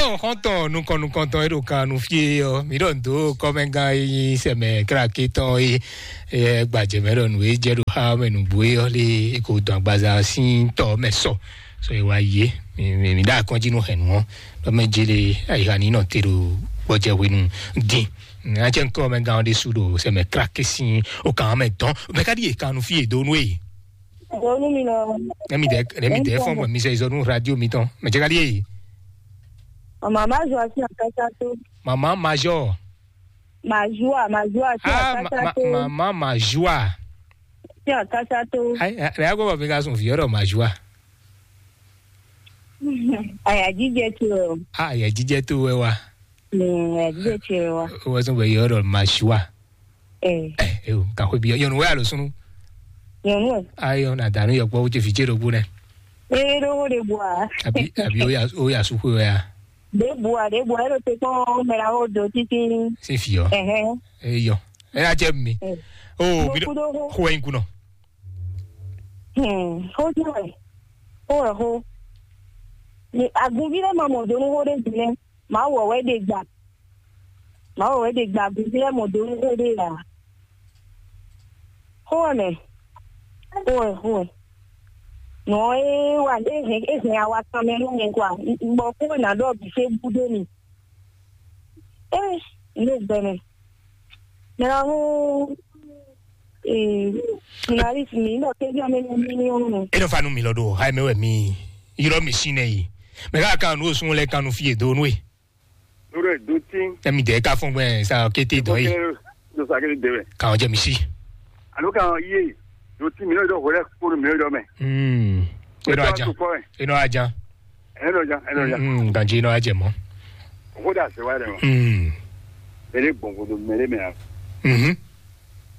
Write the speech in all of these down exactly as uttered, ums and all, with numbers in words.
Xɔ́ntɔn nukɔn nukɔntɔn e ɖo kan nu fí e ɔ́, mǐ ɖɔ nǔ dó kɔ́mɛgán e nyí sɛmɛ kláké tɔn e e gbajɛ mɛ ɖɔ nǔ e jɛ ɖo xá mɛ nǔgbó e ɔ́ lé e ko dɔn agbaza sín tɔ mɛ sɔ. Sɔ e wá yi é, mǐ mǐ mǐ ɖo akɔ́njí nú hɛ̌nnu ɔ́, ɖɔ mɛ jele ayixa ní nɔ te ɖo gbɔjɛ hwenu dín. Ná cɛ kɔ́mɛgán ɔ́ ɖésú ɖo sɛmɛ kláké sín o kan mɛ dɔn. Mɛ ka ɖíe kan nu fí e dó nú e? Donu mi nɔ. Nɛ mi dɛ nɛ mi dɛ fɔn bɔ mi sɛ izɔ nu radio mi tɔn. Mɛ jɛ ka ɖíe? Mama Major asi akasa to. Mama Major. Major, Major asi Ah, ma, akasa ma, to. Mama Major. Asi akasa to. Ai, ai, ai, agora vem cá são viola Major. Ai, a DJ to. Ah, ya DJ to é wa. Mm, a DJ to é wa. What's on your Major? Eh. Eh, eu, ka hwe bi. Yo no ya lo sunu. Yo no. Ayo na danu yo kpo je fiche do bune. Eh, do ho de bua. Abi abi o ya o ya su hwe ya. De bua, de bua, ero te kpɔn mɛ la ho do titi. Se fi yo. Ɛhɛn. Eh yo. Eh, a jɛ mi. Eh. Oh, Mo bi kudo ho. Ho en kuno. Hmm, ho jo e. Ho e ho. Ni agunvi lɛ ma mɔ do nu ho de bi nɛ. Mawu wɛ wɛ ɖe gba. Mawu wɛ wɛ ɖe gba agunvi lɛ mɔ do nu ho de la. Ho wɛ mɛ. Ho wɛ, ho wɛ. Nɔ e wa e hɛn e hɛn awa tɔn mɛ nú mi kwa. Bɔ ko na ɖɔ bi se bu de mi. Eh, no gbɛmɛ. Mɛ la ho. Eh, na ri mi no ke bi ame mi mi no. E nɔ fa nu mi lɔ ɖo ha mɛ wɛ mi ylɔ mi si nɛ yi. Mɛ ka kan nu osun lɛ kan nu fie do nu e. Lórí ẹ̀ dó tí. Emi dɛ ka fún gbɛ sa kété dɔ yi. Ló sa kété dé wẹ̀. Kàn jẹ mi sí. Àló kàn yé dó tí mi lórí dọ̀ wẹ́rẹ́ kpónú mi lórí dọ̀ mẹ́. Hmm. E nɔ ajan. E nɔ ajan. E nɔ ajan, e nɔ ajan. Hmm, ganji e nɔ ajɛ mɔ. Òkú dà sí wáyé dẹ̀ mọ́. Hmm. Bẹ́ẹ̀ ni gbọ̀ngbọ̀n mẹ́rẹ́ mẹ́ra. Mhm.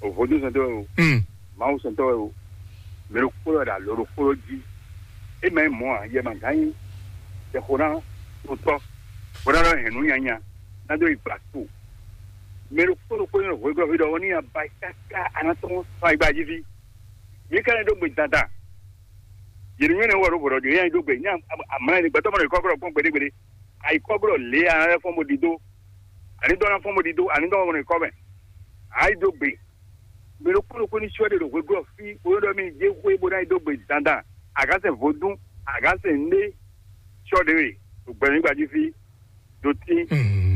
O vodúnsɛntɔ́ wɛ o, Mm. Mawusɛntɔ́ wɛ o, mɛ ɖokpó wɛ ɖo alo ɖokpó jí. É mɛ mɔ̌ ǎ, yɛ ma gán nyí tɛxonátɔ́, bó ná nɔ hɛn nǔ nyanya ná dó yi gbla to. Mɛ ɖokpó ɖokpó nyí hwegɔ́ fí ɖɔ ɔ́ ní nya ba káká anátɔ́ sɔ́ ayigba jí fí. Yě ká nyi ɖó gbe dandan. Yě ní nyɔ́ nɛ́ wɔ ɖó vodɔ ɖě nyi ɖó gbe, ní amlá ní gbɛtɔ́ mɔ ɖo kɔ́kɔ́ kpɔ́n gbeɖé gbeɖé. Ayikɔ́glɔ́ lě a nǎ lɛ́ fɔ́n bó ɖidó, a ní dɔn ná fɔ́n bó ɖidó, a ní dɔn bó nɔ yi kɔ́ mɛ. A yi dó gbe. Mɛ ɖokpó ɖokpó ní sɔ́ ɖe ɖo hweglɔ́ fí, bó nɔ́ ɖɔ mì jé xwé bó ná yi dó gbe dandan. A gǎn sɛn vodún, a gǎn sɛn nɖé sɔ́ ɖe we ɖo gbɛmígba jí fí, ɖo tín.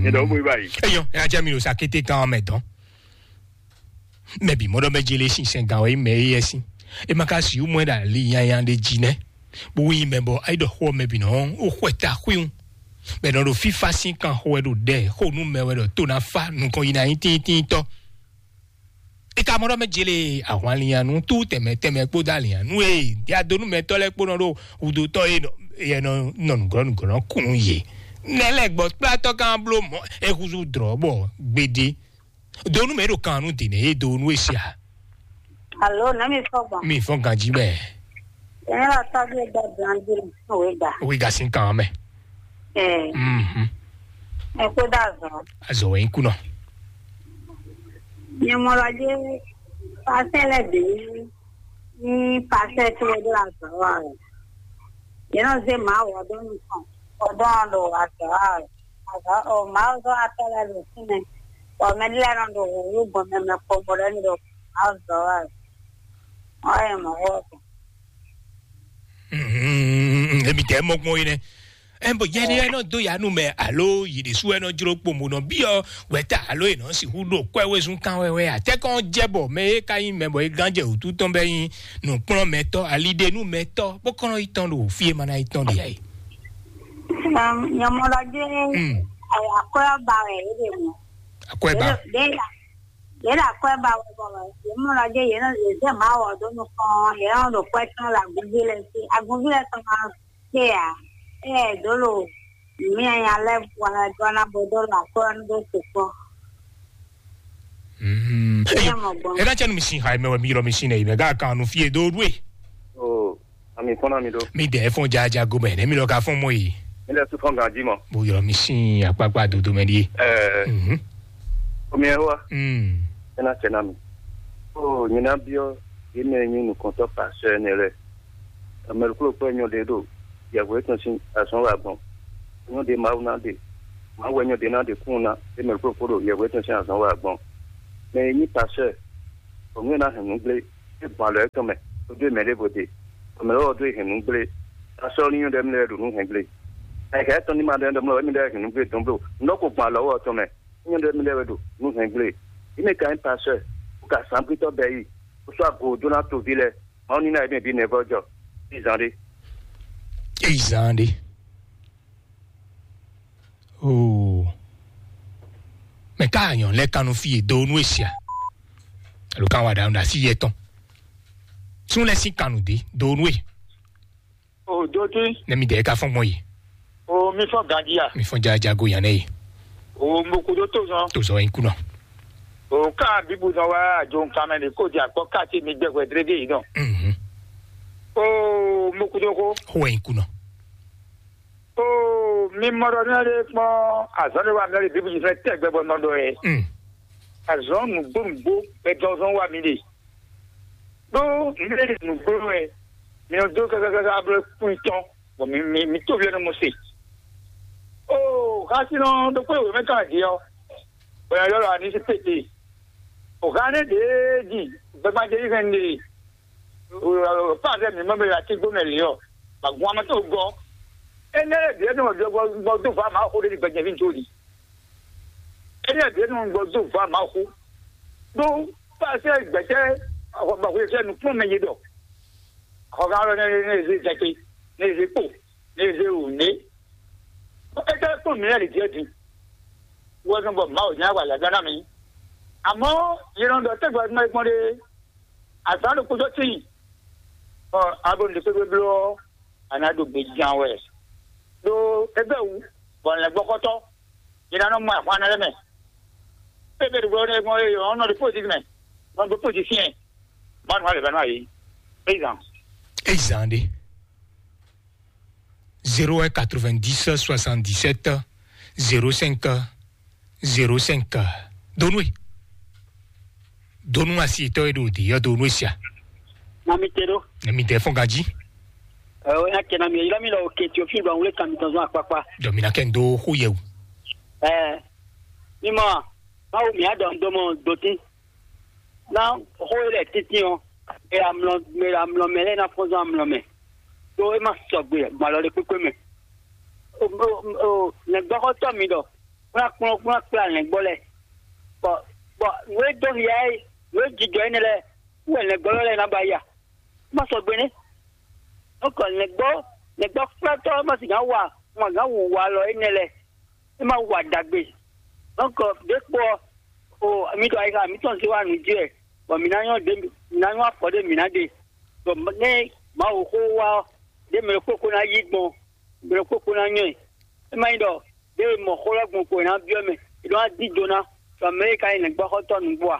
Nyɛ ɖɔ bó yi ba yi. Eyɔ, ẹ ajá mi ɖo sa kété kan mɛ dɔn. Mɛ bǐ mɔ ɖɔ mɛ jele sinsɛn gǎn wɛ nyí mɛ éyɛ́ sín. É ma ka sixú mɔ ɛ ɖo ali nyanya ɖé jí nɛ́, bó wú nyí mɛ bɔ é ɖɔ xó ɔ́ mɛ bǐ nɔ ó xwɛ ta xwíhun. Bɛ nɔ ɖo fífá sín kan xo wɛ ɖo ɖɛ xó nú mɛ wɛ ɖɔ tó ná fá nukɔn yi ná nyí tíntínntɔ́. É ka mɔ ɖɔ mɛ jele ahwanlinyanu tú tɛmɛ tɛmɛ kpódó alinyanu e diadonúmɛtɔ́ lɛ́ɛ kpó nɔ ɖo hudotɔ́ e nɔ e nɔ nɔ nǔglɔ́ nǔglɔ́ kunu yě. Nɛ́ lɛ́ɛ gbɔ kplátɔ́ kan bló mɔ̌ é húzú dlɔ̌ bɔ gbeɖé. Donu mɛ ɖo kan nu dene ye do nu esia. Alo, ne mi fɔ gbɔn. Mi fɔ ganji mɛ. Ɛn la tɔbi da blandi no we da. We ga sin kan mɛ. Eh. Mhm. E ko da zo. Azo we kunɔ. Ni mo la je pasɛ lɛ bi ni pasɛ to do la zo wa. Ye nɔ zé Mawu ɔ́ dó nukɔn, bɔ dɔn ɖo azɔ̌ wa wɛ. Azɔ̌ o Mawu zɔ́n atɔ́ lɛ́ɛ ɖo fínɛ́, bɔ mɛ ɖé lɛ́ɛ nɔ ɖo wǔwú gbɔn mɛ mɛ kpowun bɔ ɖɔ n'i ɖɔ Mawu zɔ́n wa wɛ. Wọ́n yɛ mɔ̌ xó ɔ́ gbɔn. Emi tɛ mɔ gbɔn yi nɛ. Ɛn bɔ yɛ ɖé nɔ dó ya nú mɛ alo yi ɖésú wɛ nɔ jló kpo mo nɔ byɔ́ wɛ̌ta alo è nɔ sixú ɖo kwɛ́ wezun kan wɛ wɛ atɛ́kɔn jɛ bɔ mɛ e ka nyí mɛ bɔ é gán jɛ wǔtu tɔn bɛ nyí nǔkplɔ́nmɛtɔ́, aliɖenúmɛtɔ́, bó kɔn nɔ yi tɔn ɖo fí e ma ná yi tɔn ɖe ǎ é. Nyɔmɔɖɔjé Hmm. Akwɛ́ ba wɛ é ɖe mɔ. Akwɛ́ ba. Ɖé la ɖé la akwɛ́ ba wɛ bɔ nyɔmɔɖɔjé yě nɔ yě zɛ Mawu ɔ́ dó nukɔn yě nɔ ɖo kwɛ́ tɔn le agunví lɛ sí agunví lɛ tɔn ma kpé ǎ. Ée dó lo mìanya lɛ́ɛ bwana dó ná bó dó lo akwɛ́ ɔ́ dó sukpɔ́. Mhm. Eye mɔ gbɔn. Ena cɛ nu mi sin ha mɛ wɛ mi yɔrɔ mi sin nɛ yi mɛ ga kan nu fie do ɖue. O, ami fɔn na mi do. Mi dɛ fɔn jaja go mɛ ne mi lɔ ka fɔn mɔ yi. Mi lɛ su fɔn ganji mɔ. Bo yɔrɔ mi sin akpakpa dodo mɛ di. Ɛɛ, Mhm. Omi ɛ wa. Mm. Ena cɛ na mi. O, nyina biɔ, yi mɛ nyi nukɔntɔ pasɛ ne lɛ. Amɛluklo kpɛ nyɔ de do. Yɛhwe tɔn sin asɔn wa gbɔn. Nyɔ́ ɖe Mawu ná ɖe, Mawu wɛ nyɔ́ ɖe ná ɖe kún ná, é mɛ kpókpó ɖo yɛhwɛ tɔn sín azɔn wa gbɔn. Mɛ e nyí pasɛ, bɔ nú é ná hɛn nǔ gblé, é gbɔn alɔ étɔn mɛ, bó dó mɛ ɖěvo ɖe, bɔ mɛ lɔ́wọ́ dó hɛn nǔ gblé. Pasɛ ɔ́ ní nyɔ́ ɖɔ émí lɛ́ɛ ɖo nǔ hɛn gblé. Ayǐká étɔn ní ma ɖɔ émí ɖɔ émí lɛ́ɛ hɛn nǔ gblé dɔn bló, nǔ ɖɔ ko gbɔn alɔ wɛ tɔn mɛ, é nyɔ́ ɖɔ émí lɛ́ɛ wɛ ɖo nǔ hɛn gblé. Yě mɛ ka nyí pasɛ, bó ka sǎngbítɔ́ bɛ́ yi, bó sɔ́ ago dó ná toví lɛ́ɛ, Mawu ní ná yě mɛ bǐ nɛvɔ́ jɔ. Ní zán ɖé. Eyi zán ɖé. Oo. Mɛ ka anyɔ lɛ kanu fi e do nu esia. Alo kan wa ɖa ɖa si yɛ tɔn. Tún lɛ sin kanu de do nu e. O do ti. Ne mi dɛ ka fɔn gbɔn yi. O mi fɔn gandia. Mi fɔn ja ja go yan ne yi. O mo kudo to zɔn. To zɔn yi kunɔ. O ka bibu zɔn wa jo nkan mɛ ni ko di akpɔ ka ti mi gbɛ hwɛ drege yi dɔn. Mhm. O mo kudo ko. Ho yi kunɔ. Oo, mi mɔ ɖɔ nú ɛɖé kpɔ́n azɔ̌ ɖé wa mi ɔ́ ɖe bíbí fɛ́ tɛgbɛ bɔ nɔ ɖɔ ɛ. Mm. Azɔ̌ nǔgbó nǔgbó wɛ dɔzɔn wa mi ɖe. Ɖó mi ɖe nǔgbó wɛ mi nɔ dó kákákáká bló kún tɔn bɔ mi mi mi tó vlɛ́ nɔ mɔ se. Oo, xásinɔ ɖokpó e wěmɛ tɔn adi ɔ́, bɔ yɛ ylɔ́ ɖɔ anisipéte. O hánɛ ɖě ji gbɛgbadé yi hɛn ɖe. Pazɛ mi mɔ bɛ la ti gbɔmɛ li ɔ, ba gun amɛ tó gɔ. Ene ɖe ɖe nɔ gbɔ gbɔ do va ma xo ɖe gbɛjɛ vi to li. Ene ɖe nɔ gbɔ do va ma xo. Do pazɛ gbɛtɛ ba xo sɛ nu kpɔn mɛ ye dɔ. Xɔ ga lɔ ne ne ze zɛte, ne ze kpo, ne ze o ne. Ete kpɔn mi lɛ li diɛ di. Wɔ zɔn bɔ ma o nya wa la gana mi. Amɔ yɛ nɔ dɔ tɛgbɛ ma gbɔn ɖe. Azǎn ɖokpó sɔ́ tíin, bɔ abo ɖě kpékpé bló ɔ́, a nǎ ɖo gbe jan wɛ. Ɖó é bɛ́ wǔ, bɔ lɛ̌ngbɔ́xɔ́tɔ́, è nǎ nɔ mɔ ahwan lɛ́ɛ mɛ. Ée bɛ́ ɖo gbɔn é gbɔn é ɔ́ nɔ ɖo pósí mɛ, nɔ ɖo pósí syɛ́n, bɔ nǔ alɛ bɛ́ nɔ ayǐ. Paysan. Eyi zan ɖé. Zéro un quatre-vingt-dix soixante-dix-sept zéro cinq zéro cinq. Donwe. Donu asi tɔ e ɖo de yɔ donu esia. Na mi te ɖo. Na mi te fɔn gaji. Ɛɛ, o ya kɛ na mi yɔ mi lɔ o ke tio fi ba wule kan mi tɔn zɔn akpakpa. Dɔ mi na kɛ n do xo yɛ o. Ɛɛ, mi mɔ, ma wo mi adɔ n do mɔ doti. Na xo e lɛ titi ɔ, e amlɔ, e amlɔ mɛ lɛ na fɔn zɔn amlɔ mɛ. To e ma sɔgbe gbalɔ de kpekpe mɛ. O, o, o, nɛgbɔxɔtɔ mi dɔ. Kplá kplɔ́n kplá kplá lɛ̌ngbɔ́ lɛ́ɛ. Bɔ bɔ nǔ e dó hiya é, nǔ e jijɔ énɛ́ lɛ́ɛ, wú wɛ lɛ̌ngbɔ́ lɛ́ɛ ná ba ya. Má sɔgbe nɛ́. Nukɔ lɛ̌ngbɔ́ lɛ̌ngbɔ́ kplɔ́tɔ́ má sì gǎn wa ma gǎn wu wa lɔ énɛ́ lɛ́ɛ. É má wa ɖagbe. Nukɔ ɖěkpɔ ɔ, o mi ɖo ayixa mǐtɔn zé wa nǔ jí wɛ, bɔ mǐ ná nyɔ́ ɖě mǐ ná nyɔ́ afɔ ɖé mǐ ná ɖe. Bɔ nɛ́ Mawu xó wa ɔ́, ɖě mɛ ɖokpó ko ná yí gbɔn, mɛ ɖokpó ko ná nyɔ́ ɛ. É má nyí ɖɔ ɖěe mɔ xó lɛ́ɛ gbɔn ko è nǎ byɔ́ mɛ, è nɔ wá dín do ná, bɔ mɛ e ka nyí nɛ̌gbɔ́xɔ́tɔ́ nǔgbó a?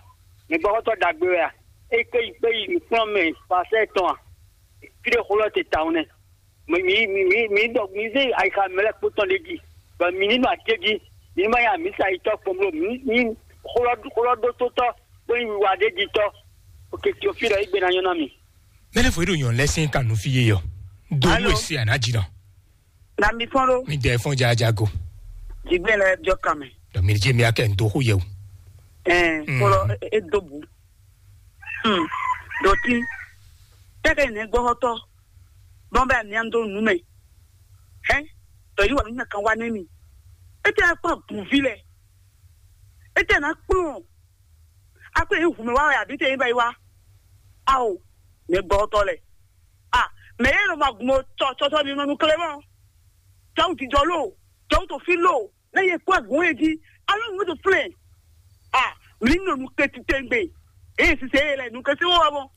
Nɛ̌gbɔ́xɔ́tɔ́ ɖagbe wɛ a? É kpé yi kpé yi nǔkplɔ́nmɛ pasɛ́ tɔn a? Fí ɖé xó lɛ́ɛ te tawun nɛ́. Mi mi mi mi mi ɖɔ mi zé ayixa mɛ lɛ́ɛ kpó tɔn ɖé jí, bɔ mi ní nɔ aké jí, mi ní ma nyí amǐsa yi tɔ́ kpɔn bló mi ní xó lɔ xó lɔ ɖótó tɔ́, bó nyí wiwa ɖé jí tɔ́. Oke Teofílu ɔ́, yi gbe ná nyɔ́ ná mi. Mɛlɛ fo ɖo nyɔn lɛ sin kan nu fi ye yɔ. Do Alo. Nú esi ana dzi nɔ. Na mi fɔn ɖo Mi dɛ fɔn dza dza go. Dzigbɛ lɛ jɔ kan mɛ. Dɔ mi dze mi akɛ ndo xo yɛ o. Ɛɛ, Mm. Kpɔlɔ e- e do bu. Hmm. Dɔti. Tɛkɛ ne gbɔhɔtɔ. Bɔn bɛ nia do nu mɛ. Hɛ. Dɔ yi wa mi na kan wa ne mi. Ete akpa buvi lɛ. Ete na kplɔn. Akpa yi hu mɛ wa ya bi te yi ba yi wa. Awo. Ne gbɔhɔtɔ lɛ. Ah, mɛ yɛ nɔ ma gbɔn tsɔ tsɔ tsɔ ni nɔ nu kle mɔ. Tsɔw jijɔ lo, tsɔw to fi lo, ne yɛ kpɔ gbɔn yɛ ji, alo nu to flɛ. Ah, mi nɔ nu kle titɛngbe. Eye sise yɛ lɛ nu kle si wɔ mɔ.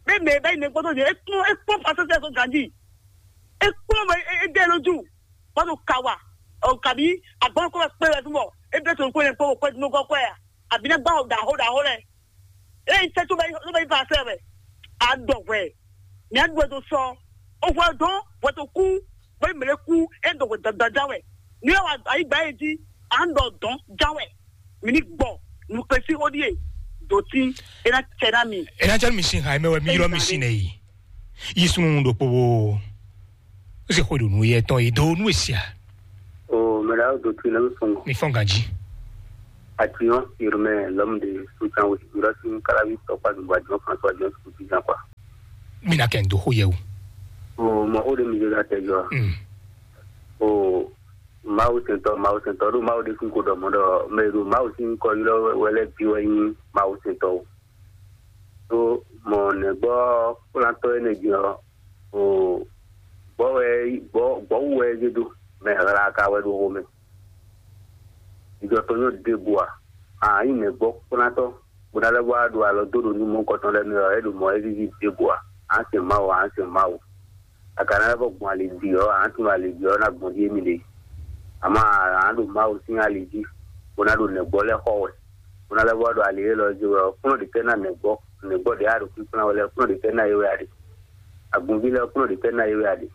Be mɛ bɛ ne gbɔdɔ yɛ ekpɔ ekpɔ pasese so ganji. Ekpɔ mɛ e de lo ju. Bɔdo kawa. O kabi agbɔn ko kpe wɛ fimɔ. Ebe to ko ne kpɔ ko kpe no kɔ kɔ ya. Àbí ní gbá ọ̀dà àhódà àhó rẹ̀. Lẹ́yìn iṣẹ́ tó bá tó bá yí bá a fẹ́ rẹ̀, à ń dọ̀ wẹ̀. Ní à ń dọ̀ tó sọ, ó fọ́ dán wẹ̀ tó kú, bóyá mèlé kú, é ń dọ̀ wẹ̀ dandan já wẹ̀. Ní àwọn àyígbá yìí jí, à ń dọ̀ dán já wẹ̀. Mi ní gbọ̀, nù pé sí ó díè, dòtí, é ná tẹ ná mi. Ena jɔ mi sin ha mɛ wɛ mi yɔrɔ mi sin nɛ yi. Yi sunu ɖokpo wo. Ó sì xwe ɖo nu yɛ tɔn yi do nu esia. Mɛ ɖaxó dó twi nɛ́ fɔ́n. Mi fɔ́n ganjí. Atuyɔn yɔrɔmɛ lɔmde sucan wo sibira sin kalavi tɔkpa dugba jɔn François jɔn sukuti jan kwa. Mi na kɛ n do xó yɛ o. O mɔ xó ɖe mi ɖe la tɛ jɔ. Mm. O Mawu sɛntɔ, Mawu sɛntɔ ɖo Mawu ɖe fún ko ɖɔ mɔ ɖɔ mɛ ɖo Mawu sín kɔ ylɔ wɛ lɛ bi wɛ nyí Mawu sɛntɔ o. Tó mɔ nɛgbɔ kplantɔ énɛ́ din ɔ́, o gbɔ wɛ gbɔ gbɔwu wɛ é zé dó, mɛ hla ka wɛ ɖo xomɛ. Jijɔ tɔn nyɔ ɖěbǔ ǎ. A nyí nɛgbɔ kplantɔ bó ná lɛ́ wá ɖo alɔ dó ɖo nú mɔ̌hunkɔtɔn lɛ́ɛ mɛ ɔ́, é ɖo mɔ̌ é víví ɖěbǔ ǎ. A sɛn Mawu, a sɛn Mawu. A ka ná lɛ́ vɔ gbɔn ali jí ɔ́, a nǎ tunwun ali jí ɔ́ ná gbɔn jí émí ɖě. Amɔ̌ a nǎ ɖo Mawu sín ali jí, bó ná ɖo nɛgbɔ lɛ́ɛ xɔ wɛ, bó ná lɛ́ vɔ ɖo ali élɔ́ jí wɛ ɔ́, kplɔ́n ɖě tɛ́ ná nɛgbɔ, nɛgbɔ ɖě a ɖo kpínkplɔ́n wɛ lɛ́ɛ, kplɔ́n ɖě tɛ́ ná é wɛ a ɖe? Agunví lɛ́ɛ kplɔ́n ɖě tɛ́ ná é wɛ a ɖe?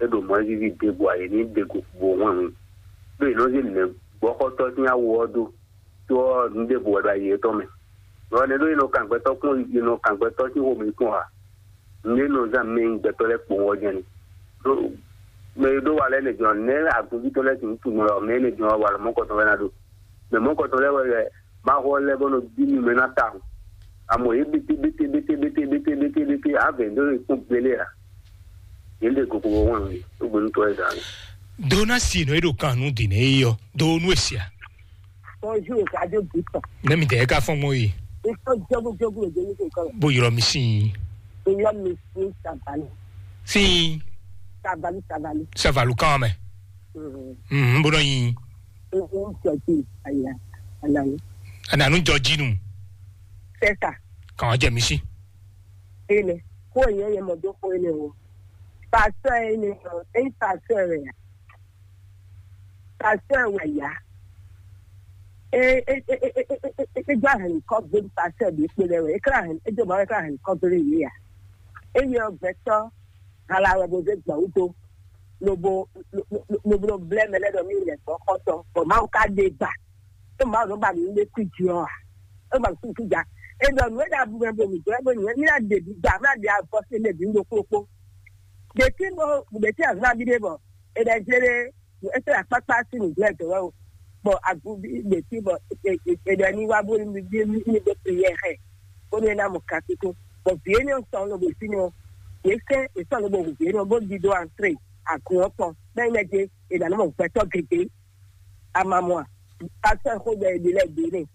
É ɖo mɔ̌ é víví ɖěbǔ ǎ, yě ní ɖe go bo hwɛ́n hun. Ɖó yě nɔ zé nɛgbɔxɔtɔ́ sín awo ɔ́ dó, tó ɔ́, nǔ ɖěbǔ wɛ ɖo ayi yětɔn mɛ. Lɔ nɛ́ ɖó è nɔ kan gbɛtɔ́ kpɔ́n, è nɔ kan gbɛtɔ́ sín xomɛ kpɔ́n ǎ. Nǔ e nɔ zán mɛ nyí gbɛtɔ́ lɛ́ɛ kpowun ɔ́ jɛ́n ni. Ɖó mɛ e ɖó wa lɛ́ɛ nɛ jɔn nɛ́ agunví tɔn lɛ́ɛ sixú tunwun ɖɔ mɛ énɛ́ jɔn ɔ́, walɔ mɔ̌kɔtɔn wɛ ná ɖo. Mɛ mɔ̌kɔtɔn lɛ́ɛ wɛ, wɛ ma xɔ lɛ́ɛ bɔ nɔ bí nú mɛ ná tawun. Amɔ yě bete bete bete bete bete bete bete avɛ ɖó e kpɔ́n gbélé ǎ. Yě ɖe koko wɔ wɛn mi, ɖó gbɛnútɔ́ e zǎn. Donasi nɔ e ɖo kan nú dǐn e yɔ do nú esia. Bonjour, Radio Bouton. Ne mi tɛ ka fɔn mo yi. Ito jogu jogu le jeni ko kan. Bo yɔrɔ mi sin. Iyɔ mi sin sabali. Sin. Sabali, sabali. Savalu kan mɛ. Mhm. Mhm, bo nɔ yin. Mhm, jɔji, aya, anani. Ananu jɔjinu. C'est ça. Kan jɛ mi si. Ele, ko yɛ yɛ mɔ do ko ele o. Pasteur ele, ele pasteur ya. Pasteur wɛ ya. E e e e e e e e gba hɛn kɔ gbé pasteur bi kpe lɛ wɛ. E kla hɛn, e do ma e kla hɛn kɔ gbé yé ya. E yɔ gbɛtɔ hala wɛ bo zé gbɔn wudo. Lobo lobo blɛ mɛ lɛ dɔ mi lɛ gbɔ kɔtɔ. Bɔ ma ka de gba. E ma nɔ ba mi le kui di ɔ. E ma kui kui ja. E dɔ nu e da bu mɛ bo mi gbɛ bo nyɛ mi na de bi gba, mi na de avɔ se le bi ndo kpokpo. Ɖeti bɔ ɖeti azɔn abi ɖe bɔ e ɖe jlé ɖe ese akpakpa si nu gblɛ dɔ wɛ o. Bɔ aguvi ɖeti bɔ e ɖe ni wa bo ni bi ni ni be prière xɛ. Ko ne na mo kasi ko. Bɔ vie ne sɔn lo bo si no. Ye se e sɔn lo bo vie no bo di do entrée agun ɔtɔn. Bɛ ne je e na no mo gbɛtɔ gege. Amamɔ a? Pasteur xo ɖe e ɖe lɛ ɖe ne.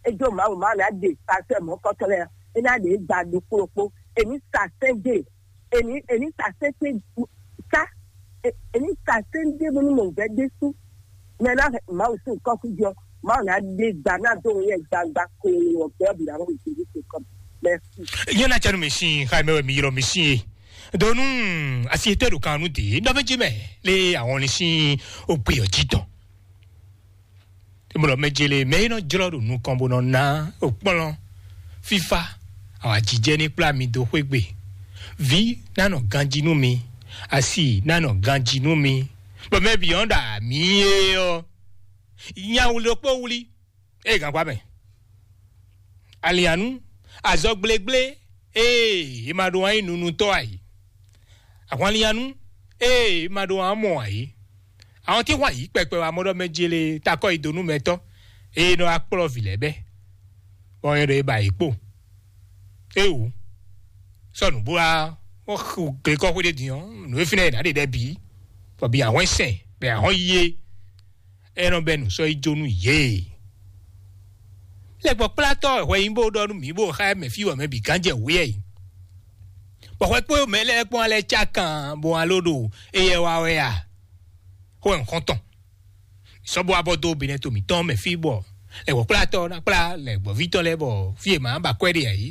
E jo Mawu ma na de pasteur mɔ kɔtɔ lɛ. E na de gba do kpokpo. E ni sa sɛn de. Èmi èmi sàsẹ́sẹ́ sá èmi sàsẹ́ ń dé bónú mò ń gbẹ́ dé sú mɛ náà máa ò sí nǹkan kú jọ máa ò náà dé gbà náà tó ń yẹ gbangba kó o wọ̀ bẹ́ẹ̀ bìrà wọn ò sí ní ṣe kọ́ mẹ́sì. Yẹn na canu mi sin xa mɛ mi yɔrɔ mi sin ye. Donu asi etɛ do kan nu de nɔfɛ ji mɛ le àwọn ni sin o gbe ɔ ji dɔn. Mlɔ mɛ jele mɛ yi nɔ jlɔ ɖo nukɔn bó nɔ ná okplɔn fífá awǎjijɛ ní kplá mi dó xwé gbe. Vǐ ná nɔ ganjí nú mi, asi ná nɔ ganjí nú mi. Bɔ mɛ bǐ ɔ́ ɖo amǐ é ɔ́, nya wlí ɖokpó wlí ée gǎnkpá mɛ. Alianú, azɔ gblégblé, ee, è ma ɖo wǎn yí nunutɔ́ ǎ yě. Ahwanlianú, ee, è ma ɖo wǎn mɔ ǎ yě. Àwọn tí wǎn yí kpɛkpɛ wá mɔ ɖɔ mɛ jele takɔ yi dó nú mɛtɔ́, eye nɔ wá kplɔ́ vǐ lɛ́ɛ bɛ́, bɔ é ɖɔ é ba yě kpo. Éwú, sɔ́ nǔ bó wá wọ́n xu glekɔ́xwé ɖé din ɔ́, nǔ e fínɛ́ è nǎ ɖe ɖɛ bǐ, bɔ bǐ ahwɛ́n sɛn, bɔ ahwɛ́n yí é. É nɔ bɛ́ nǔ sɔ́ yi jó nú yě. Lɛ́gbɔ́kplátɔ́ hwɛ nyí bó ɖɔ nú mǐ bó xá mɛ fí wɛ mɛ bǐ gán jɛ wǔ yɛ yi. Bɔ hwɛ kpó mɛ lɛ́ɛ kpɔ́n alɛ cá kan bó wá ló ɖo éyɛ́ wá wɛ a? Xó wɛ nǔxɔ́ntɔn. Sɔ́ bó wá bɔ dó Benɛto mǐtɔn mɛ fí bɔ lɛ̌gbɔ́kplátɔ́ ná kplá lɛ̌gbɔ́ví tɔn lɛ́ɛ bɔ fí e mǎ ba akwɛ́ ɖe ǎ é.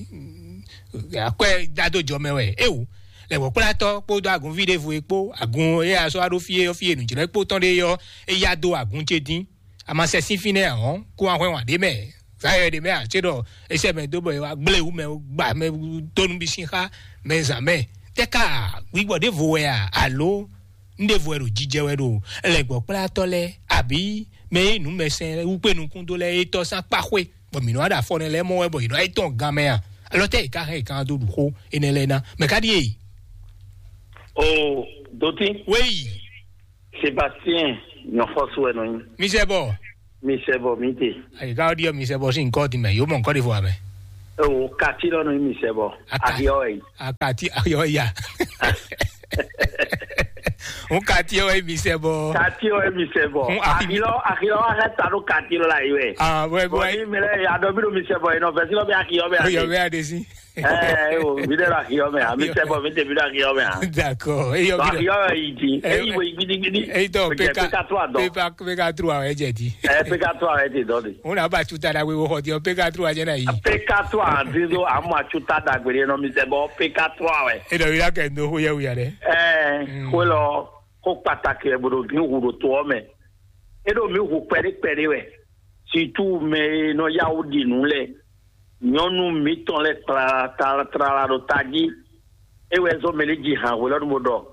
Akwɛ́ dá dó jɔ mɛ wɛ é wǔ. Lɛ̌gbɔ́kplátɔ́ kpódó agunví ɖěvo e kpó agun e a sɔ́ wá ɖó fí é ɔ́, fí e nǔjlɛ́ kpó tɔn ɖe é ɔ́, é yá dó agun ce dín. A ma sɛ sín fínɛ́ ǎ ɔ́, kú wá hwɛ́n wǎn ɖé mɛ. Zǎyɔ ɖé mɛ ǎ, cé ɖɔ é sɛ mɛ dó bɔ é wá gblé wú mɛ, gba mɛ dó nú bí sín xá mɛ zǎn mɛ. Tɛ́ ká gbígbɔ ɖěvo wɛ a? Alo un ɖěvo wɛ ɖo jijɛ wɛ ɖo lɛ̌gbɔ́kplátɔ́ lɛ́ɛ, abǐ mɛ e nǔmɛsɛn wú kpé nukún dó lɛ́ɛ é tɔ́ sín akpá xwé, bɔ mǐ nɔ wá ɖo afɔ nɛ lɛ́ɛ mɔ wɛ bɔ yě nɔ wá yi tɔn gan mɛ a? Alɔ tɛ́ yě ká hɛn yě ká dó ɖu xó énɛ́ lɛ́ɛ ná? Mɛ ká ɖíe? O dotí. Wéyi. Sébastien Nyɔxɔsú wɛ nɔ nyi. Misɛbɔ. Misɛbɔ mi te. Ayi ka ɔdi ɔ misɛbɔ si nkɔ di mɛ yo mɔ nkɔ de fo amɛ. Ewo kati lɔ nɔ nyi misɛbɔ. Aka- Ahiɔ wɛ yi. Akati ayɔ ya. N kati ɔ wɛ misɛbɔ. Kati wɛ misɛbɔ. N ahi- Ahilɔ ahilɔ wa hɛ ta ɖo kati lɔ la yi wɛ. Ah, wɛ Bɔn bɔ. Ni mɛ lɛ adɔ bi ɖo misɛbɔ yi nɔ fɛsi lɔ bɛ ahiɔ bɛ Ayɔ ade. Bɛ ade si. Ɛɛ o mi ɖe la ahiɔ mɛ a mi sɛ bɔ mi tɛ mi ɖe ahiɔ mɛ a. D'accord. Eyɔ Ba bi. Ahiɔ yɛ yi di. Ɛ- Eyi wo yi gidigidi. Eyi tɔ Jɛ peka peka tɔ a dɔ. Peka peka tro awɛ jɛ di. Ɛ peka tɔ awɛ ti dɔ de. Ŋun na ba tu ta da wewo xɔ di ɔ peka tro a jɛ na yi. Peka tɔ a di do a mɔ atu ta da gbede nɔ mi sɛ bɔ peka tɔ awɛ. E dɔ wi la kɛ ndo xo yɛ wi a dɛ. Ɛɛ Mm. Xo lɔ xo pataki ɛ bo ɖo mi hu ɖo to ɔ mɛ. E ɖo mi hu kpɛɖe kpɛɖe wɛ. Situ mɛ e nɔ yá wú ɖi nǔ lɛ́ɛ. Nyɔ̌nu mǐtɔn lɛ́ɛ tlala tlala ɖo tají. É wɛ zɔ́n mɛ lɛ́ɛ ji han hwelɔ́nu bó ɖɔ: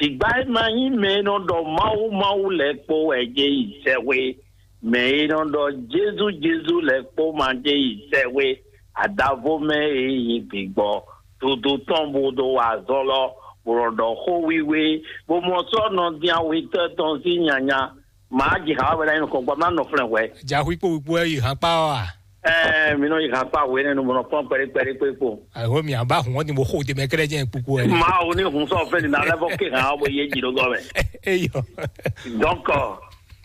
Jǐgbá e ma nyí mɛ e nɔ ɖɔ Mawu Mawu lɛ́ɛ kpó wɛ jɛ yi sɛxwé. Mɛ e nɔ ɖɔ Jezu Jezu lɛ́ɛ kpó ma jɛ yi sɛxwé. Adavo mɛ e nyí gbigbɔ. Dodo tɔn bó ɖo wa azɔn lɔ, bó nɔ ɖɔ xó wíwé, bó mɔ sɔ́ nɔ dín awitɔ́ tɔn sín nyanya. Màá ji xá wɛ ná nyí nukɔn gbɔ má nɔ flɛn hwɛ. Jaxwí kpó wíkpó wɛ yi hán kpá ɔ a? Ɛɛ mi nɔ yi hán kpá hwɛ nɛnu bɔnɔ kpɔn kpɛɖé kpɛɖé kpé kpó. Ayiwo mi aba hun ɔdi mo xo de mɛ kɛlɛ jɛ kpukpu wɛ. Màá wo ní hun sɔ fɛn ní nalɛ fɔ ké hàn ɔbɔ yé jì ló gɔ mɛ. Eyɔ. Donc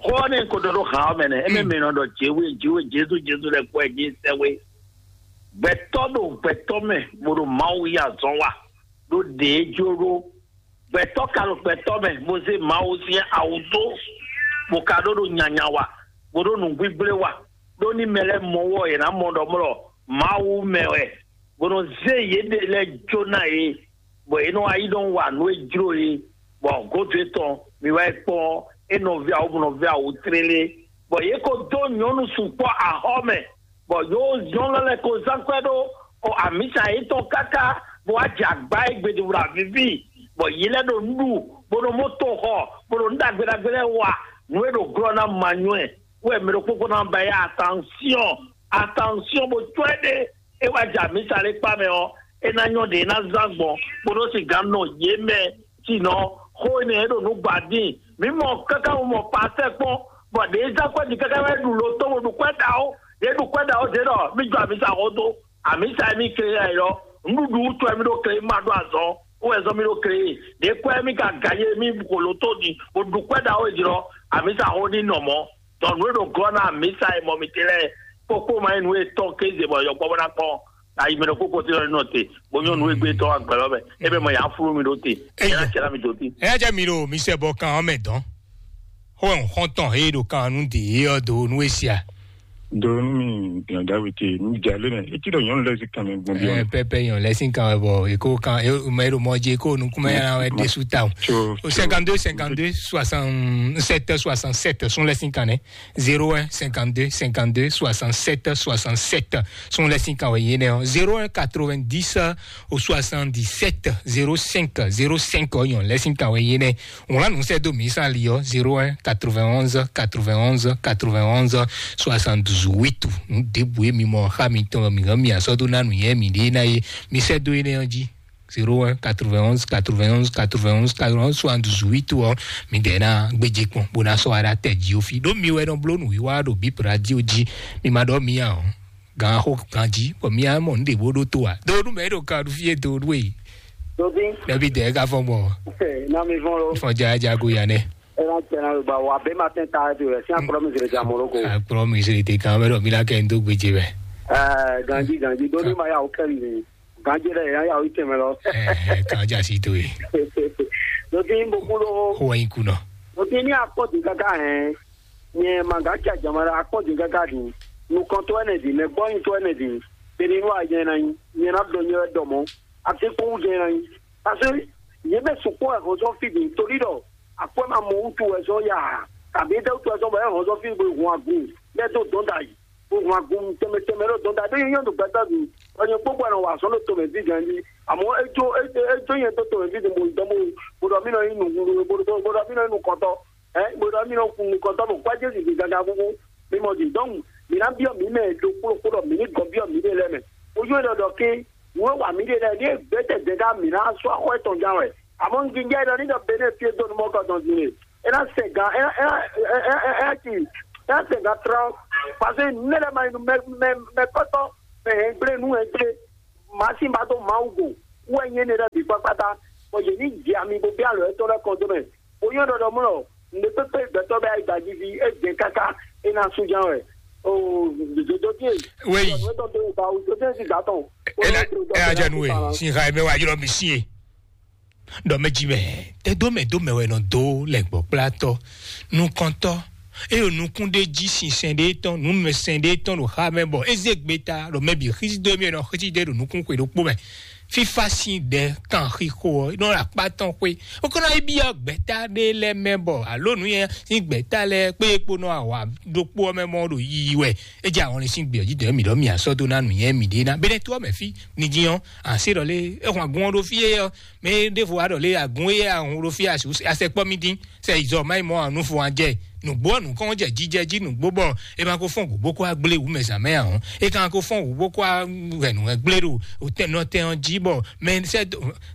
xɔ ní ko dɔ ɖo hàn ɔmɛ nɛ ɛmɛ mi nɔ ɖɔ jéwe jéwe Jesu Jesu lɛ kpɔ ɛ jé sɛwé. Gbɛtɔ ɖo gbɛtɔ mɛ bó ɖo Mawu yí azɔn wa ɖó ɖě jló ɖó. Gbɛtɔ́ ka ɖo gbɛtɔ́ mɛ, bó zé Mawu sín awu dó, bó ka ɖó ɖo nyanya wa, bó ɖó nǔgbígblé wa, ɖó ní mɛ lɛ́ɛ mɔ wɔ yě ná mɔ ɖɔ mlɔ Mawu mɛ wɛ, bó nɔ zé yěɖée lɛ́ɛ jó ná yě, bɔ yě nɔ wá yi nɔ wa nǔ e jló yě, bɔ gǒdo étɔn mi wá yi kpɔ́n é nɔví awu bó nɔví awu tlélé, bɔ yě ko dó nyɔ̌nu sukpɔ́ axɔ́ mɛ, bɔ yǒ zɔ́n lɔ lɛ́ɛ ko zán kwɛ́ ɖó o amǐsa yětɔn káká bó wá jɛ agbá e gbeɖuɖu avíví, bɔ yě lɛ́ ɖo nǔ ɖu, bó ɖo moto xɔ, bó ɖo nǔ ɖagbe ɖagbe lɛ́ɛ wa, nǔ e ɖo glɔ́ ná ma nywɛ́, wɛ mɛ ɖokpó kpó ná ba yá atansyɔ́n, atansyɔ́n bó cwɛ́ ɖé, é wá jɛ amǐsa lɛ́ɛ kpá mɛ ɔ́, é ná nyɔ́ ɖě é ná zán gbɔn, bó nɔ́ sixú nɔ yě mɛ. Sinɔ, xó énɛ́ e ɖo nǔ gba dín. Mǐ mɔ káká wú mɔ pasɛ kpɔ́n, bɔ ɖě zán kwɛ́ din káká wɛ ɖu lo tó bó ɖu kwɛ́ ɖaxó. Ɖě ɖu kwɛ́ ɖaxó ɖě ɖɔ mí jɔ amǐsa xó dó. Amǐsa e mí kle yɛ lɔ, nǔɖuɖu wútu wɛ mí ɖó kle ma ɖó azɔn, wó wɛ zɔn mí ɖó kle. Ɖě kwɛ́ mí ka gǎ yé mí xo lo tó din, bó ɖu kwɛ́ ɖaxó e jlɔ, amǐsa xó ní nɔ mɔ̌. Dɔ nǔ e ɖo glɔ́ ná amǐsa e mɔ mǐtɛn lɛ́ɛ, kpókpó ma nyí nǔ e tɔn kéze bɔ yɔkpɔ́ bó ná kpɔ́n. Ayi mɛ ɖokpó ko tí lɔ nɔ te, bó nyɔ́ nǔ e gbé tɔn agbɛ̌ lɔ mɛ, é bɛ mɔ yǎ flú mi ɖó te, é yá cɛ ná mi dó tí. Ɛ jẹ́ mi ɖo mi sɛ bɔ kan ɔ́ mɛ dɔn. Xó ɛ xɔ́ntɔn he ɖo kan nú de é ɔ́ do nú é sia. Do nú mi gbìyànjú awe te, mi jà lé nɛ, etí ɖɔ nyɔnu lɛ sí kan mi gbɔn bí Ɛ ɔn. Pɛpɛ yɔn lɛ sí kan wɛ bɔ èkó kan mɛ e ɖo mɔ jí kó nukúnmɛ yàrá wɛ ɖésú ta o. Tso, tso. Cinquante-deux, cinquante-deux, soixante-sept, soixante-sept, sún lɛ sí kan nɛ. Zéro un, cinquante-deux, cinquante-deux, soixante-sept, soixante-sept. Sún lɛ sí kan wɛ yé nɛ ɔ. Zéro un, quatre-vingt-dix, au soixante-dix-sept, zéro cinq, zéro cinq ɔ yɔn lɛ sí kan wɛ yé nɛ. Ŋlá nǔ sɛ dó mǐ sán li ɔ. Zéro un, quatre-vingt-onze, quatre-vingt-onze, quatre-vingt-onze, soixante-douze, huit. Nǔ ɖěbǔ e mi mɔ xá mi tɔn mi hɛn mi asɔ́ dó ná nǔ yɛ mi ɖě ná yé. Mi sɛ dó yé nɛ ɔ jí. Zéro un, quatre-vingt-onze, quatre-vingt-onze, quatre-vingt-onze, quatre-vingt-onze, soixante-douze, huit ɔ. Mi dɛ ná gbéjé kpɔn bó ná sɔ́ wa ɖá tɛ jí ó fi ɖó mi wɛ nɔ bló nǔwiwa ɖo bíp radio jí. Mi ma ɖɔ mi ǎ ɔ. Gan xó ganjí bɔ mi á mɔ nǔɖé bó ɖó tó a. Do nú mɛ ɖo kan ɖu fí e do ɖu e. Dobi, Ɖɛbi dɛ ka fɔn gbɔn. Na mi vɔn lo. Fɔn jajago ya nɛ. Ena tɛna lo ba wa be ma tɛn ta do yɛ si akplɔ mi zere ja moro ko. Akplɔ mi zere de kan bɛ ɖɔ mi la kɛ n do gbedze bɛ. Eh, ganji ganji do ni ma ya o kɛ mi. Ganji lɛ ya ya o itɛmɛ lɔ. Eh, kan ja si to ye. Dobi n bo kulo. Ko wa in kunɔ. Dobi ni akpɔ di kaka hɛn. Nyɛ ma ga ca jama la akpɔ di kaka di. Nukɔntɔ ɛnɛ di, mɛ gbɔnyitɔ ɛnɛ di. Beni nu a nyɛ na nyi. Nyɛ na dɔ nyɛ wɛ dɔ mɔ. Ati kpɔn wú jɛ na nyi. Parce que yě mɛ sukpɔ́ wɛ hɔn sɔ́ fí din torí ɖɔ akwɛ́ ma mɔ wútu wɛ sɔ́ ya ǎ, kabǐ étɛ́ wútu wɛ sɔ́ bɔ é hɔn sɔ́ fí bo hun agun lɛ́ dó dɔ̌n ɖ'ayǐ, bo hun agun tɛnmɛ tɛnmɛ ɖó dɔ̌n ɖ'ayǐ, ɖó nyɛ nyɔ́ ɖo gbɛtɔ́ din, bɔ nyɛ kpókpó wɛ nɔ wa azɔ̌ ɖo tomɛ dín ganjí. Àmọ́ é jó é é jó nyɛ dó tomɛ dín din bo dɔn bo bo ɖɔ mí nɔ nyí nǔ bo ɖɔ mí nɔ nyí nukɔntɔ́, ɛ bo ɖɔ mí nɔ kun nukɔntɔ́ bo kpá Jezu din gangan kúkú. Mi mɔ din dɔn mi ná byɔ́ mǐ mɛ ɖokpó ɖokpó ɖɔ mǐ ní gɔn byɔ́ mǐɖée lɛ́ɛ mɛ. Ojú é ɖɔ ɖɔ kí nǔ e wa mǐɖée lɛ́ɛ ɖíe gbɛtɛ́ dɛ̌ ká mǐ ná sú axɔ́ étɔn gán wɛ. Àmọ́ un jínjɔ́n ɖɔ ní ɖɔ Benɛ́ɛ fí e dó nú mɔ̌ kɔ dɔn din e É ná sɛ gan, é ná é ná é ná é ná é ná ti é ná sɛ gan trɔ́n. Parce que ne lɛ́ ma yi nú mɛ mɛ mɛ kɔ́tɔ́ mɛ hɛngble nú hɛngble. Màá sí ba dó Mawu go. Wú wɛ nyí énɛ́ lɛ́ɛ bǐ kpákpátá. Bɔ yě ní jɛ ami bó bɛ́ alɔ yětɔn lɛ́ɛ kɔn dó mɛ. Bó nyɔ́ ɖɔ ɖɔ mɔ̌ ɖɔ nǔɖé pépé gbɛtɔ́ bɛ ayi gbají ví é jɛ káká é ná sú ján wɛ. Oo, dodó dín. Wéyi. Dodó dín ba o dodó dín sí gǎ tɔn. Ena ena jɛ nu e sin ha mɛ wa ylɔ mi si e. Ɖɔ mɛ ji mɛ tɛ dó mɛ dó mɛ wɛ nɔ dó lɛ gbɔ kplatɔ nukɔntɔ. Eye nukún ɖé jí sinsɛn ɖé tɔn nǔmɛsɛn ɖé tɔn ɖo xa mɛ bɔ é zé gbe ta ɖo mɛ bǐ xísí dó mɛ nɔ xísí ɖé ɖo nukún xwe ɖokpó mɛ. Fífá sín ɖɛ kan xixo ɔ́ nɔ ɖo akpá tɔn xwé. Wokɔnɔ yi byɔ́ gbɛ̌ta ɖé lɛ́ɛ mɛ bɔ alo nǔ nyanya sín gbɛ̌ta lɛ́ɛ kpé kpo nɔ awǎ ɖokpó ɔ́ mɛ mɔ ɖo yiyi wɛ. É jɛ ahɔnlin sín gbě ɔ́ jí dɔ̌ mǐ ɖɔ mǐ asɔ́ dó ná nǔnywɛ́ mǐɖée ná. Bɛ́nɛ́ tó ɔ́ mɛ fí, ní dín ɔ́, ǎ sé ɖɔ lé é hɔn agun ɔ́ ɖó fí é ɔ́, mɛ e ɖěvo wá ɖɔ lé agun éyɛ́ ahun ɖó fí asɛ kpɔ́ mì dín, sɛ yi zɔ má yi mɔ anu fo an jɛ. Nǔgbó ɔ́ nǔkɔn jɛ jijɛ jí nǔgbó bɔ é ma ko fɔ́n gǔ bó kó wá gblé wǔ mɛ zǎn mɛ ǎ ɔ́, é ka ko fɔ́n gǔ bó kó wá hɛn nǔ hɛn gblé ɖo tɛnɔtɛn ɔ́ jí bɔ mɛ sɛ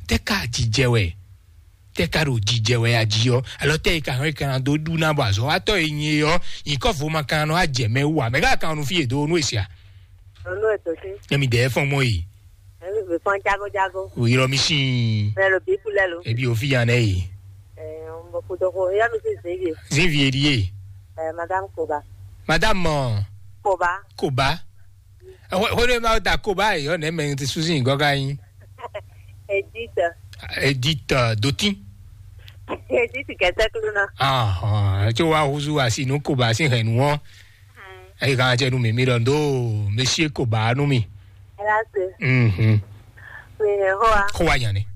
tɛ ka jijɛ wɛ tɛ ka ɖo jijɛ wɛ a jí ɔ́, alɔ tɛ yi ka hɔn yi ka na dó ɖu ná bɔ azɔ̌watɔ́ e nyi é ɔ́, nyǐkɔ vo ma ka nɔ ajɛ mɛ wú ǎ, mɛ ka kan nu fí e dó nú e sia. Nunu ètò sí. Emi dɛ fɔn mɔ yi. Èmi bì fɔn jago jago. O yɔrɔ mi sin. Mɛ lo bí kulɛ lo. Ebi o fi yan nɛ yi. Ɛɛ, n bɔ kudo ko ya mi si zin ye. Zin vie di ye. Ɛɛ, madame Koba. Madame mɔ. Koba. Koba. Hwene ma da Koba yi ɔ nɛ mɛ ti susi gɔ ka yin. Edith. Edith Dotin. Edith kɛtɛ kulu na. Ah, ah, tso wa huzu asi nu Koba si hɛn nu ɔ. Ayi kan jɛ nu mi mi ɖɔ ndo Monsieur Koba nu mi. Ela se. Mhm. Mi ne hoa. Ko wa nyane.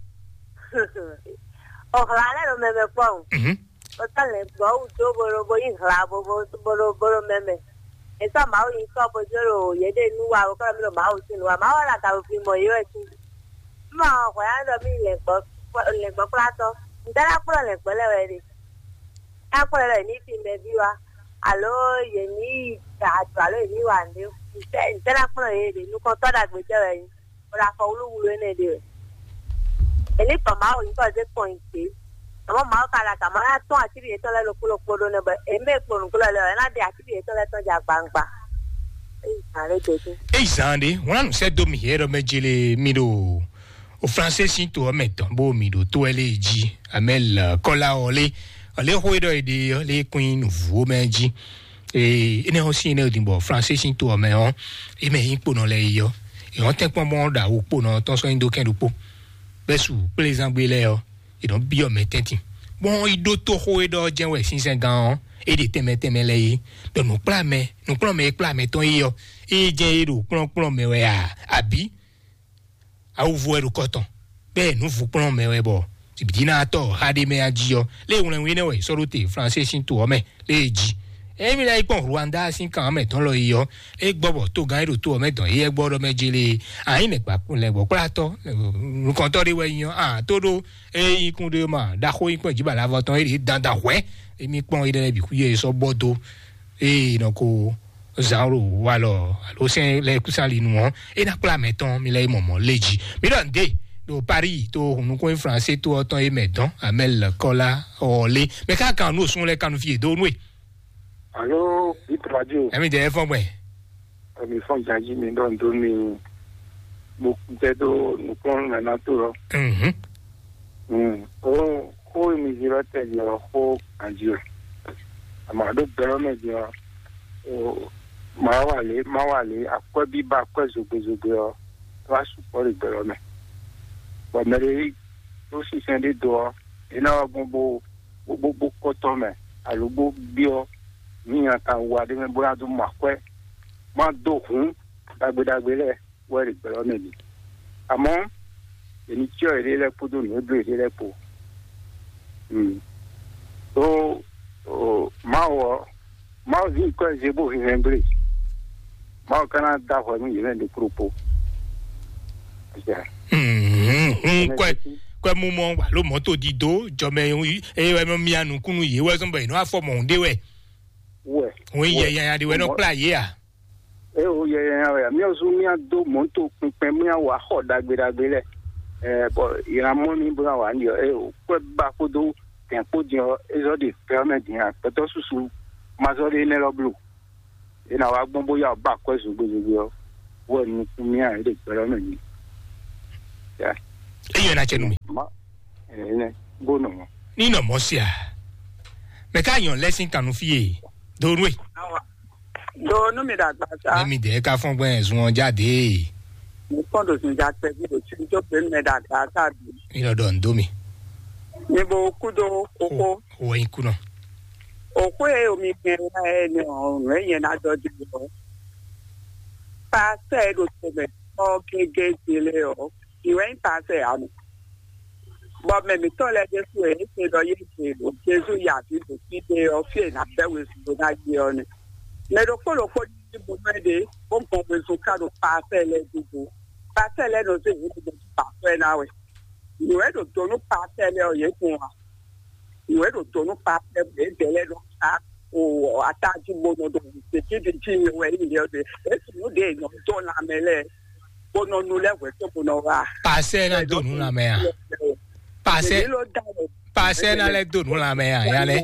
O hla le lo meme kpɔn. Mhm. O ta le gbɔ wu do bolo bo yi hla bo bo bolo bolo meme. E ta Mawu yi kɔ bo jo lo ye de nu wa o kɔ mi lo Mawu si nu wa. Mawu la ka fi mo yo e si. Ma hwɛ ya dɔ mi le gbɔ le gbɔ kpla tɔ. N dara kplɔ le gbɔ le wɛ de. Akpɔ́ lɛ́ ní fi mɛví wá, alo yě ní yi da ado, alo yě ní wa nǔɖé. Ntɛ́ ntɛ́ ná kplɔ́n yě ɖe? Nukɔntɔ́ ɖagbe jɛ wɛ é nyí, bó ɖo afɔ wlúwlú énɛ́ ɖe wɛ. È ní gbɔn Mawu nyǐkɔ zé kpɔn nyi gbě. Àmọ́ Mawu ka ɖo agǎn má ná tɔ́n atíɖi yětɔn lɛ́ɛ ɖokpó ɖokpó ɖó nɛ́ bɔ è mɛ kpo nǔglɔ́ lɛ́ɛ ɔ́, é ná ɖe atíɖi yětɔn lɛ́ɛ tɔn jɛ agbaŋgba. É nyí zǎn ɖé dǒ. Ényí zǎn ɖé, wlán nǔ sɛ́ dó mì yɛ ɖɔ mɛ jele mi ɖo o Fransé sín to ɔ́ mɛ tɔn bó mi ɖo tó ɛ lé jí amɛ lɛ kɔlá ɔ lé ɔ lé xó e ɖɔ è ɖe ɔ lé kún nyi nǔvú mɛ jí. Ee, énɛ́ ɔ́ sín énɛ́ ɔ́ din bɔ Fransé sín to ɔ́ mɛ ɔ́, é mɛ nyí kponɔ lɛ́ɛ yi ɔ́, è nɔ tɛ́nkpɔ́n bɔ ɖo awu kponɔ tɔn sɔ́ nyi dó kɛn ɖokpó. Bɛ́ su kplézángbé lɛ́ɛ ɔ́, è nɔ byɔ́ mɛ tɛ́ntin. Bɔn yi ɖó tó xó e ɖɔ ɔ́ jɛ́n wɛ sínsɛ́ngán ɔ́, é ɖe tɛnmɛ tɛnmɛ lɛ́ɛ yí. Ɖɔ nǔkplɔ́nmɛ nǔkplɔ́nmɛ e kplá mɛ tɔn é ɔ́, é jɛ́n é ɖo kplɔ́nkplɔ́n mɛ wɛ a, abǐ? Awuvo wɛ ɖo kɔ tɔn, bɛ́ nǔvukplɔ́n mɛ wɛ bɔ bǐbínátɔ́ Hadémɛ́ya jí ɔ́, lě e wlɛnwí nɛ́ wɛ è sɔ́ ɖó te Fransé sín to ɔ́ mɛ lě e jí. Ényí mi ná yi kpɔ́n Rwanda sín kan ɔ́ mɛ tɔn lɔ yi ɔ́, é gbɔ bɔ togán e ɖo to ɔ́ mɛ dɔn éyɛ́ gbɔ ɖɔ mɛ jélé, a nyǐ lɛ̌ngbɔ́kplátɔ́ nukɔntɔ́ ɖé wɛ nyí ɔ́, a tó ɖó é nyí kún ɖé ma ɖaxó nyí kpɔ́n jǐbalavɔ tɔn é ɖě dandan hwɛ̌. Émí kpɔ́n énɛ́ lɛ́ɛ bǐ xwíyɛ é sɔ́ bɔ dó ée nɔ ko zǎn ɖo walɔ alo sɛn lɛ́ɛ kúsán li nu ɔ́, é ná kplá mɛ tɔn mi lɛ́ yi mɔmɔ̌ lé jí. Mi ɖɔ nǔɖé ɖo Paris to hunnukún Fransé to ɔ́ tɔn é mɛ dɔn amɛl kɔlá ɔlé mɛ ká kan nú òsún lɛ́ɛ kanu fí yě dó nú e. Alo, Bit Radio. Ɛmi jɛ fɔn gbɛ. Ɛmi fɔn jaji mi ɖɔ nǔɖó mi mo jɛ dó nukplɔn nana to lɔ. Mhm. Mm. O xó e mi zi lɔ tɛ jí ɔ xó ganjí o. Àmọ́ àɖó gbɛlɔ mɛ jí ɔ, o ma wà lé ma wà lé akwɛ́ bíbá akwɛ́ zogbe zogbe ɔ, wá sukpɔ́ ɖe gbɛlɔ mɛ. Bɔ mɛ ɖé ɖó sinsɛn ɖé do ɔ, é ná wá gbɔn bó bó bó kɔtɔ́ mɛ alo bó byɔ́ mí nya kan wa ɖé mɛ bó ná dó mɔ akwɛ́, má dó hǔn ɖagbe ɖagbe lɛ́ɛ wɛ ɖe gbɛlɔ́ mɛ ɖi. Àmọ́ èmi cyɔ yěɖée lɛ́ɛ kpódó nǔ e bló yěɖée lɛ́ɛ kpó. Mm. Ó, ó, Mawu ɔ́, Mawu ví kɔ́ ɛ zé bó hɛn gblé. Mawu ka ná dó ahwɛ nú yě mɛ ɖokpó ɖokpó. Hun kwɛ kwɛ mumɔ alo mɔto dido jɔmɛ eye wɛ nɔ mia nukunu yě wɛ zɔn bɔ yě nɔ afɔ mɔhun ɖé wɛ. Wɛ. Hun yɛ yanya ɖé wɛ nɔ kplá yě a. Eo yɛ yanya wɛ a. Mia zun mia dó mɔto kpɛnkpɛn mia wà xɔ ɖagbe ɖagbe lɛ. Ɛ bɔ yina mɔ mi bó na wà ní ɔ eo kwɛ ba kpódó tɛn kpó din ɔ́, é zɔ́ ɖe gbɛ ɔ́ mɛ din ǎ. Gbɛtɔ́ susu ma zɔ́ ɖe énɛ́ lɔ bló. É ná wá gbɔn bó yá wǔ ba akwɛ́ zogbezogbe ɔ́, wɛ nukún mì ǎ, é ɖe gbɛ ɔ́ mɛ din. Ya, Eyi na cɛ nu mi. Ma, ɛnɛ, bó nɔ mɔ. Ni nɔ mɔ sia. Mɛ ka nyɔ lɛ sin kanu fie. Do nu e. Do nu mi ɖagba sa. Mɛ mi dɛ ka fɔn gbɛ zun ɔn jáde. Mi kpɔn ɖo zun ja kpɛvi ɖo tsi tó pe mɛ ɖagba sa bi. Mi lɔ dɔ ndo mi. Mi bo kudo koko. O yin kunɔ. Okwe o mi kɛn la ɛ ni ɔ nɔ ɛ yɛn na dɔ di ɔ. Pasɛ ɖo tɛmɛ ɔ gege dele ɔ. Ìwé ń pasɛ àmì. Bɔ mɛ mi tɔ lɛ dé fún ẹ ṣe lɔ yé ṣe lò Jésù yà bí lò sí dé ɔ fí ẹ̀ nà bẹ́ wezun ló ná yé ọ ni. Mɛ ɖokpó ɖokpó ní bó mɛ ɖe bó gbɔn wezun ká ɖo pasɛ lɛ dúdú. Pasɛ lɛ nɔ zé yé ní bó pasɛ ná wɛ. Ìwé ɖo donu pasɛ lɛ ɔ yé kun wa. Ìwé ɖo donu pasɛ lɛ dɛ lɛ nɔ ká o atajú bó nɔ ɖo tètè di jí mi wɛ ní yé ɔ dé. Èsì nú dé nɔ dɔn lamɛ lɛ bó nɔ nu lɛ wɛ tó bó nɔ wa. Pasɛ na do nu lamɛ a. Pasɛ pasɛ na lɛ do nu lamɛ a ya lɛ.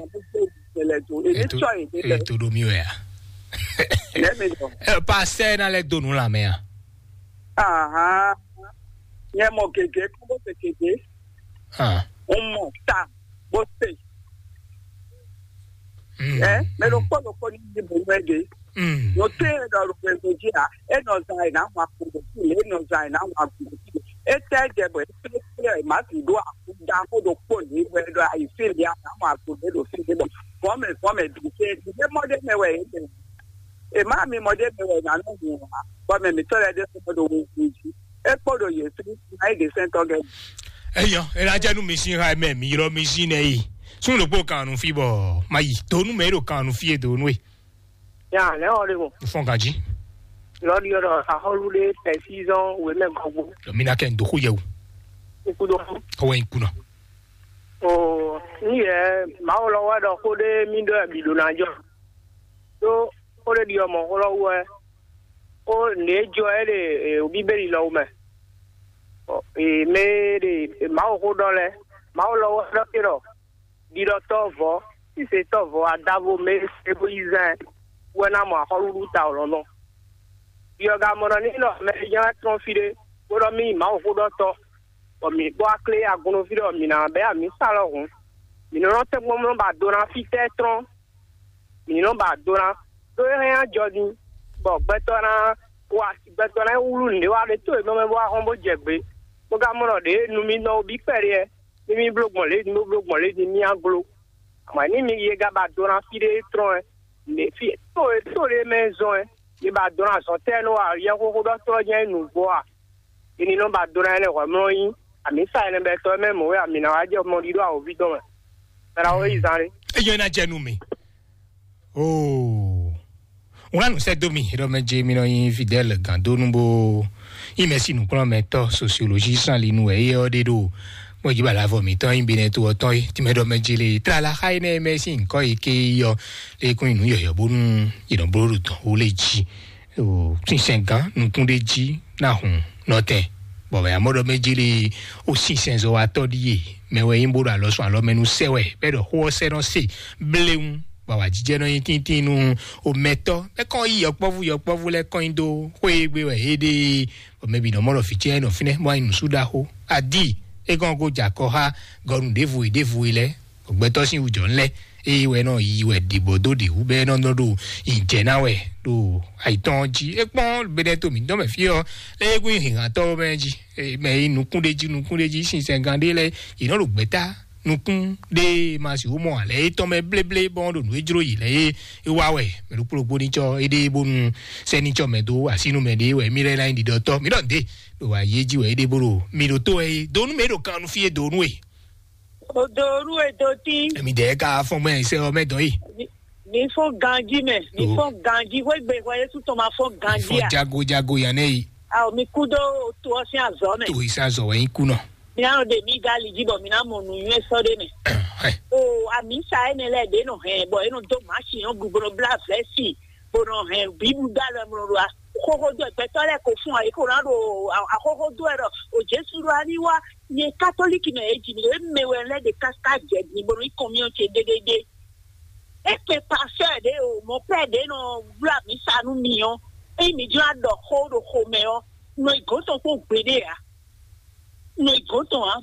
Eto eto do mi wɛ a. Lẹ́mi lọ. Ɛ, Pasɛ na lɛ do nu lamɛ a. Ahan. Nyɛ mɔ gègé kó bó ṣe gègé. Ah. Ń mọ̀ tá bó ṣe. Mm, Ẹ mẹ ló mm, kpọ́ ló kpọ́ ní ìdìbò mẹ́ẹ̀dẹ́. mm. Mo tẹ́ ẹ lọ rògbò ẹ̀sọ́ jí à ẹ nọ zan ẹ̀ náà wọn àkùnrin sí ẹ nọ zan ẹ̀ náà wọn àkùnrin sí ẹ. Ẹ tẹ́ ẹ jẹ bọ̀ ẹ tẹ́ ẹ má sì dó àkúdá kó ló pọ̀ ní ìwé lọ àìsí ìlú àná wọn àkùnrin ló fi dé bọ̀. Fọ́mẹ̀ fọ́mẹ̀ dùn ṣe ìdílé mọ́dé mẹ́wàá ẹ̀ ẹ̀ ẹ̀ má mi mọ́dé mẹ́wàá ẹ̀ nánú mi wà. Fọ́mẹ̀ mi tọ́lẹ̀ dé fún ọdún wo kùn jí. Ẹ kpọ́ ló yẹ sí náà ìdí sẹ́ńtọ́ gẹ̀. Eyɔ, ena jɛ nu mi si ha mɛ mi yrɔ mi si nɛ yi. Sun ɖokpó kan nu fi bɔ ma yi. Donu mɛ ɖo kan nu fi ye donu ye. Ya, lɛ ɔ le mo. Fɔn kan jí. Lɔri ɔ dɔ ahɔlu de pɛsizɔn wemɛ gɔgbo. Mi na kɛ n doko yɛ o. Ikudo. Kɔwɛ n kunna. O, ni yɛ mawu lɔ wɛ dɔ ko de mi dɔ bi do na jɔ. Do ko de di ɔmɔ ko lɔ wɛ. O ne jɔ ɛ de o bibeli lɔ mɛ. O, e me de mawu ko dɔ lɛ. Mawu lɔ wɛ dɔ ke dɔ. Ɖiɖɔtɔ́ vɔ̌, sísɛtɔ́ vɔ̌, aɖavo mɛ e se bó yi zán ɛ wɛ ná mɔ axɔ́ɖuɖu ta lɔ̌nlɔn. Ɖiɔgamɔnɔ ní nɔ mɛ e ján wá trɔ́n fí ɖé, bó ɖɔ mì yi Mawuxóɖɔtɔ́, bɔ mǐ kpó aklé agun nú fí ɖé, bɔ mǐ ná bɛ́ amǐ sa lɔhǔn. Mǐ nɔ nɔ tɛ́nkpɔ́n nɔ ba do ná fítɛ́ trɔ́n, mǐ ní nɔ ba do ná, ɖó é hɛn ajɔ ní, bɔ gbɛtɔ́ ná wa gbɛtɔ́ ná wlú nǔɖé wa ɖé tó e nɔ mɛ bó wá hɔn bó jɛ gbě. Bó ka mɔ ɖɔ ɖě nu mì nɔ wo bí kpɛɖé ɛ, ní mì bló gbɔn lě ní bó bló gbɔn lě ní mì á gló. Amɔ̌ ní mi ye ga ba do ná fí ɖé trɔ́n ɛ, ně fí tó e tó ɖé mɛ zɔn ɛ, ye ba do ná zɔn tɛ́ nú wa yɛxóxó ɖɔ tlɔ́ jɛ́n nǔgbó a? Ini nɔ ba do ná ɛnɛ hwɛmlɔ nyi, amǐ sa ɛnɛ bɛ tɔ mɛ mɔ̌ wɛ amǐ ná wá jɛ mɔ ɖiɖo awǒvi dɔn mɛ. Bɛ́ ná wɔ yi zán ɖé. Eyɔ ena jɛ nu mi. Oo. Ŋlá nu sɛ do mi, ɖɔ mɛ dze mi nɔ nyi Fidèle Gandonu bo yi mɛ si nukplɔn mɛ tɔ sociologie san li nu wɛ ye ɔ ɖe ɖo. Mɔ dzi bala vɔ mi tɔn yi bi nɛ to ɔtɔn yi ti mɛ ɖɔ mɛ dze le tra la xa yi nɛ mɛ si nkɔ yi ke yɔ le kun nu yɔyɔ bonu yi nɔ bolo ɖo tɔn wo le dzi. O sinsɛn gan nukun ɖe dzi na hun nɔtɛn. Bɔ mɛ amɔ ɖɔ mɛ dzi le o sinsɛn zɔ wa tɔ ɖi ye mɛ wɛ yi bo ɖo alɔ sɔn alɔ mɛ nu sɛ wɛ bɛ ɖɔ xó ɔ sɛ nɔ se bléwu. Bɔ awǎjijɛ nɔ nyi tíntín nú omɛtɔ́. É kɔn yi yɔkpɔ́vú yɔkpɔ́vú lɛ́ɛ kɔn nyi dó xwé e gbe wɛ é ɖe. Bɔ mɛ bǐ nɔ mɔ ɖɔ vǐ ce nɔ fínɛ́ bó wá nyi nǔsúɖaxó. Adí é kɔn ko jɛ akɔ xá gɔnu ɖěvo e ɖěvo e lɛ́ɛ. Gbɛtɔ́ sín wujɔ lɛ́ɛ eye wɛ nɔ yi wɛ ɖibɔ dó ɖi wú bɛ nɔ nɔ ɖo yi jɛ ná wɛ ɖo ayitɔn jí. É kpɔ́n bɛnɛ to mǐtɔn mɛ fí ɔ́, é kún nyi hǐnhǎntɔ́ mɛ jí. Mɛ yi nukún ɖé jí nukún ɖé jí sinsɛn gán ɖé lɛ́ɛ yě nɔ ɖo gbɛ̌ta nukún ɖé ma sixú mɔ ǎ lɛ étɔn mɛ bléblé bɔn ɖo nǔ e jló yě lɛ é é wá wɛ. Mɛ ɖokpó ɖokpó ní tsɔ éɖée bónú sɛ́ní tsɔ mɛ dó asínú mɛ ɖé wɛ mí lɛ́ ná nyí ɖiɖɔtɔ́ mí ɖɔ nǔɖé ɖo ayé jí wɛ éɖée bó ɖo mí ɖo tó wɛ é do nú mɛ é ɖo kan nú fí é do nú e. Odoru edoti. Èmi dẹ̀ ká fɔn gbẹ́ ẹ̀sẹ̀ ọmọ ẹ̀dọ́ yìí. Mi fɔ ganji mɛ, mi fɔ ganji wegbe wɛ Yesu tɔn ma fɔ ganji Fɔn a. Jago jago yàn náà yìí. Awo mi kú dó to ɔ sín azɔ mɛ. Tó ìsazọ̀ wẹ̀ yín kú náà. Mi anɔ de mi gali ji bɔ mi na mɔ nu nyuɛ sɔ de mɛ. O ami sa ene lɛ de nɔ hɛn bɔ eno do machine ɔ gugbo bla vɛsi bo nɔ hɛn bibu da lɛ mlɔ do a. Xoxo do ɛgbɛtɔ lɛ ko fún ɔ, eko na do a xoxo do ɛ dɔ o Jesu do ani wa Nyɛ katolíki mɛ e ji mi ɖe mɛ wɛ lɛ ɖe káká jɛ din bó nɔ yi kɔnmyɔ ce ɖéɖéɖé. E kpe pasteur ɖe o, mɔ père ɖe nɔ wlá mi sa nú mi ɔ́, eyi mi jlá ɖɔ xó ɖo xomɛ ɔ́, nɔ yi gɔ̌n tɔn kpó gbeɖé ǎ. Nɔ yi gɔ̌n tɔn ǎ.